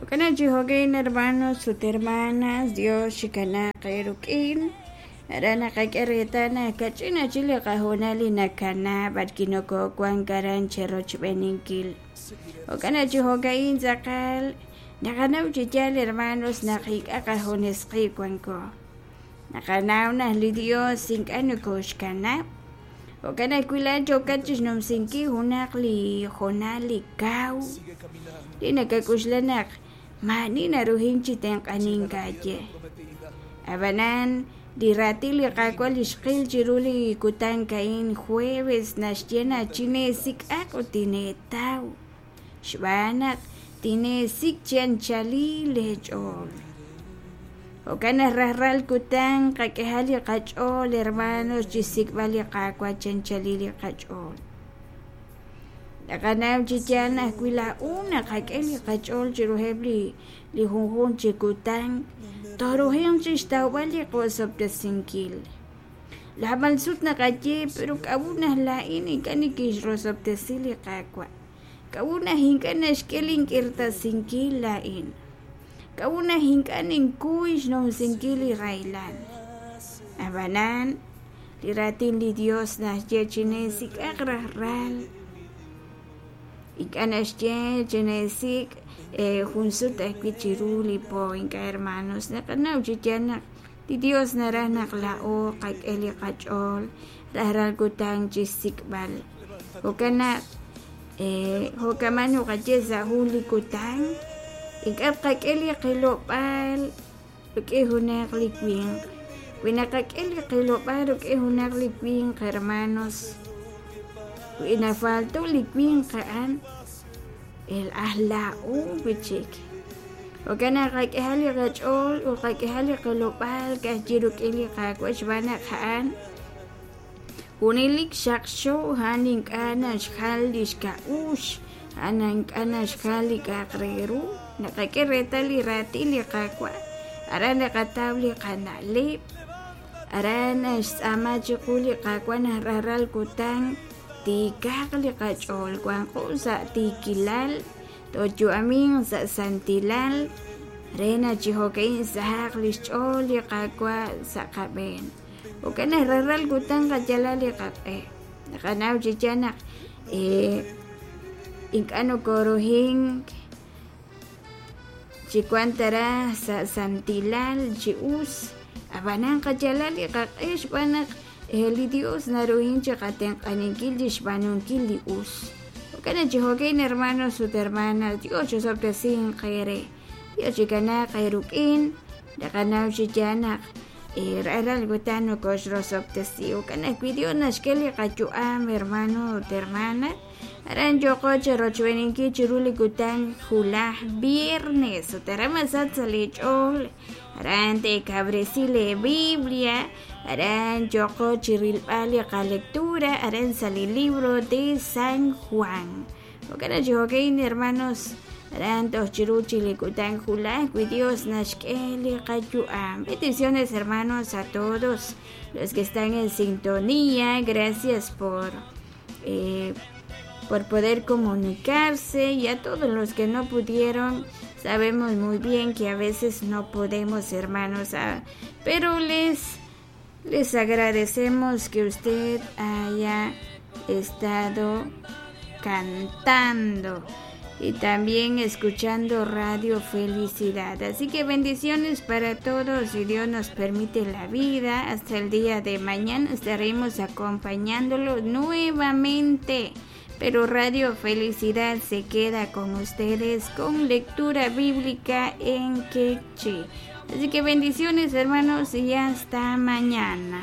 Jo'kan naq chi jo'kan, hermanos ut hermanas, Dios chikanaaq eerik'in. Aran naqak'e reetal naq kach'in chik li qahoonal li nakana b'arwi' nokowank aran cherochb'eeninkil. Jo'kan naq chi jo'ka'in tz'aqal naqanaw chi yaal, hermanos, naq ink'a' qajunes qib' wanko. Naqanaw naq li Dios ink'a' nokoxkanab'. Jo'kan ajwi' laa'at yookat chixnumsinkil junaq li hoonal li kaw li nakak'oxla naq maa'ani naruhin chi tenq'anink aawe. Ab'anan li raatin li Qaawa' li xqil chiru li kutan a'in jueves naxye naq chineesik'aq ut tineetaw, xb'aan naq tineesik' chi anchalil leech'ool. Jo'kan naq rajlal kutan qak'ehaq li qach'ool, hermanos, chi xsik'b'al li Qaawa' chi anchalil li qach'ool. Naqanaw chi yaal naq wi laa'o naqak'e li qach'ool chiruheb' li li junjunq chi kutan, tooruhanq chi xtawb'al li qosob'tesinkil. Naab'al sut naqaye, pero k'a'ut naq laa'in ink'a' nikinxrosob'tesi li Qaawa'? K'a'ut naq ink'a' naxk'e link'irtasinkil laa'in? K'a'ut naq ink'a' ninkuy xnumsinkil li rahilal? Ab'anan, li raatin li Yos naxye chineesik'aq rajlal. Ink'a' naxye chineesik' jun sut ajwi' chiru li po. Ink'a', hermanos, naqanaw chi yaal naq li Yos naraj naq laa'o qak'e li qach'ool rajlal kutan chi xsik'b'al. Jo'kan naq jo'kaman naqaye sa' jun li kutan ink'a' tqak'e li qilob'aal rik'in junaq li winq. Wi naqak'e li qilob'aal rik'in junaq li winq, hermanos, wi nafalto li winq a'an, el aj laa'o wi' chik. Jo'kan naq qak'ehaq li qach'ool ut qak'ehaq li qilob'aal ka'ajwi' rik'in li Qaawa' xb'aan naq a'an junelik xaqxo, a'an ink'a' naxjal li xk'a'uxl, a'an ink'a' naxjal li k'a'aq re ru. Naqak'e reetal li raatin li Qaawa', aran naqataw li qana'leb', aran naxtz'aama chiqu li Qaawa' naq rajlal kutan tiikaq li qach'ool, wanqo sa' tiikilal, tooyu'aminq sa' santilal re naq chi jo'ka'in sahaq li xch'ool li Qaawa' sa' qab'een. Jo'kan naq rajlal kutan qayalaq li qaq'e. Naqanaw chi yaal naq ink'a' nokoruhink chi wank ta raj sa' santilal chi us, ab'anan qayalaq li qaq'e xb'aan naq li Dios naruhin chi qatenq'aninkil chi xb'aanunkil li us. Jo'kan naq chi jo'kan, hermanos ut hermanas, Dios chisob'tesinq eere. Dios chikanaaq eerik'in. Naqanaw chi yaal naq rajlal kutan nokoxrosob'tesi. Jo'kan ajwi' Dios naxk'e li qayu'am, hermano ut hermana. Aran yooqo cherochb'eeninkil chiru li kutan wulaj viernes ut aran masach sa' leech'ool. Aran teekawresi leeBiblia, aran yooqo chi rilb'al li qalectura aran sa' li libro de San Juan. Jo'kan naq chi jo'kan, hermanos, aran toj chiru chi li kutan wulaj wi Dios naxk'e li qayu'am. Bendiciones, hermanos, a todos los que están en sintonía. Gracias por poder comunicarse y a todos los que no pudieron, sabemos muy bien que a veces no podemos, hermanos, pero les agradecemos que usted haya estado cantando y también escuchando Radio Felicidad. Así que bendiciones para todos, si Dios nos permite la vida. Hasta el día de mañana estaremos acompañándolo nuevamente. Pero Radio Felicidad se queda con ustedes con lectura bíblica en Quechí. Así que bendiciones, hermanos, y hasta mañana.